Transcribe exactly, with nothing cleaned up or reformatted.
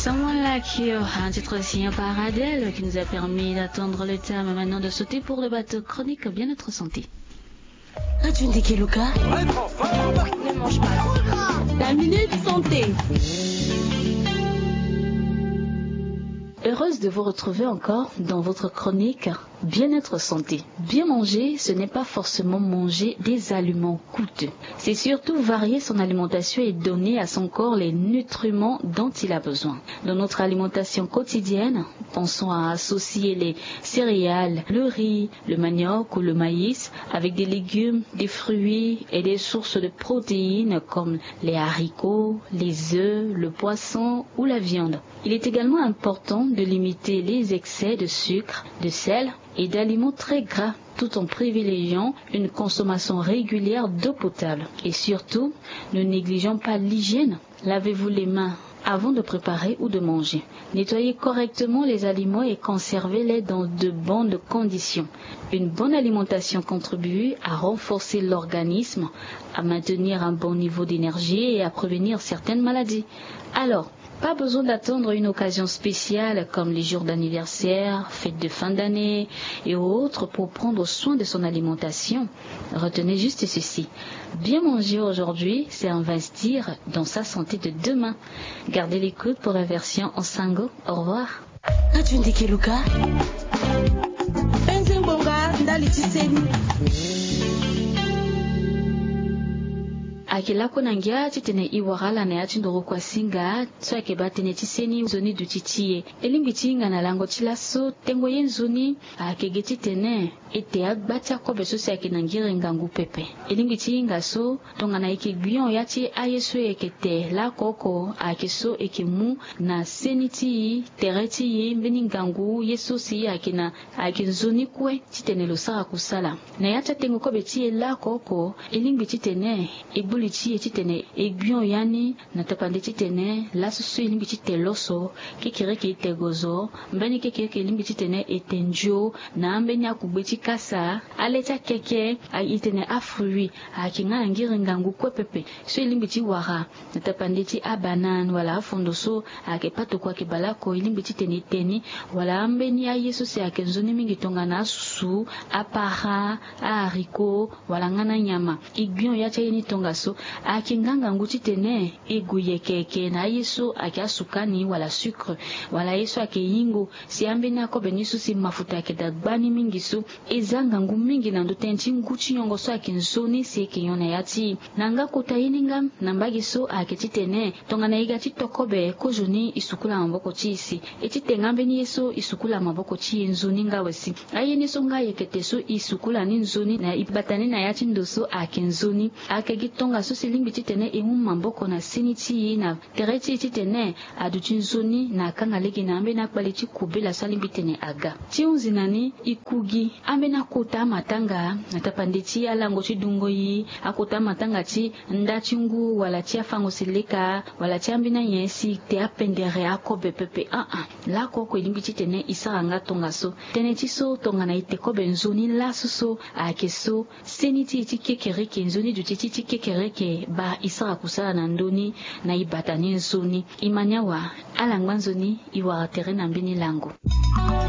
Someone Like You, un titre signé par Adele qui nous a permis d'attendre le thème. Maintenant de sauter pour le bateau chronique bien-être santé. Radio Ndeke Luka. Ne mange pas. La minute santé. Heureuse de vous retrouver encore dans votre chronique Bien-être santé. Bien manger, ce n'est pas forcément manger des aliments coûteux. C'est surtout varier son alimentation et donner à son corps les nutriments dont il a besoin. Dans notre alimentation quotidienne, pensons à associer les céréales, le riz, le manioc ou le maïs avec des légumes, des fruits et des sources de protéines comme les haricots, les œufs, le poisson ou la viande. Il est également important de limiter les excès de sucre, de sel et d'aliments très gras, tout en privilégiant une consommation régulière d'eau potable. Et surtout, ne négligeons pas l'hygiène. Lavez-vous les mains avant de préparer ou de manger. Nettoyez correctement les aliments et conservez-les dans de bonnes conditions. Une bonne alimentation contribue à renforcer l'organisme, à maintenir un bon niveau d'énergie et à prévenir certaines maladies. Alors, pas besoin d'attendre une occasion spéciale comme les jours d'anniversaire, fêtes de fin d'année et autres pour prendre soin de son alimentation. Retenez juste ceci. Bien manger aujourd'hui, c'est investir dans sa santé de demain. Gardez l'écoute pour la version en sango. Au revoir. Radio Ndeke Luka. Penze ngbonga ndali ti seni. Ayeke lakue na ngia titene e wara ala na ya ti ndoro kuasinga so ayeke baa tënë ti seni nzoni duti ti e. E lingbi ti hinga na lango ti laso tengo ye nzoni ayeke ge titene e te agba ti akobe so si ayeke na ngiri ngangu pepe. E lingbi ti hinga so tongana e yeke gbion ya ti aye so e yeke te laoko oko ayeke so e yeke mu na seni ti e, tere ti e, mbeni ngangu ye so si ayeke na ayeke nzoni kue titene lo sara kusala. Na ya ti atengo kobe ti e laoko oko e lingbi titene e gbu li ti e titene e gbion ya ni na tapande titene laso so e lingbi ti te loso, kekereke e te gozo, mbeni kekereke e lingbi titene e te nzio na ambeni akugbe ti kasa, ale ti akeke, a- e tene afruit ayeke nga na ngiri ngangu kue pepe so e lingbi ti wara na tapande ti abanane wala afondo so ayeke patoko ayeke baleoko e lingbi titene e te ni, wala ambeni aye so si ayeke nzoni mingi tongana asusu, apara, aharicot, wala nga na nyama. E gbion ya ti aye ni tongaso ayeke nga ngangu titene e gue yeke yeke na aye so ayeke asuka ni wala sucre, wala aye so ayeke hingo, si ambeni akobe ni so si mafuta ayeke daa gba ni mingi so, e za ngangu mingi na ndö tënë ti ngu ti nyongo so ayeke nzoni si e yeke nyon na ya ti e. Na nga kota ye ni nga na mbage so ayeke titene tongana e ga ti to kobe kozoni e sukula maboko ti e si e ti te nga mbeni ye so e sukula maboko ti e nzoni nga awe si. Aye ni so nga e yeke te so e sukula ni nzoni na e bata ni na ya ti ndo so ayeke nzoni. Ayeke gi tongaso si e lingbi titene e mu maboko na seni ti e na tere ti e titene aduti nzoni na akanga lege na ambeni akpale ti kobela so alingbi tene aga. Ti hunzi na ni e ku gi ambeni akota amatanga na tapande ti alango ti dungo e, akota amatanga ti nda ti ngu wala ti afango seleka wala ti ambeni anyen si e te apendere akobe pepe. Aa, laoko oko e lingbi titene e sara nga tongaso. Tënë ti so tongana e te kobe nzoni laso so ayeke so seni ti e ti kekereke, nzoni duti ti e ti kekereke baa e sara kusala na ndö ni na e bata ni nzoni. E ma ni awa, ala ngba nzoni, e wara tere na mbeni lango.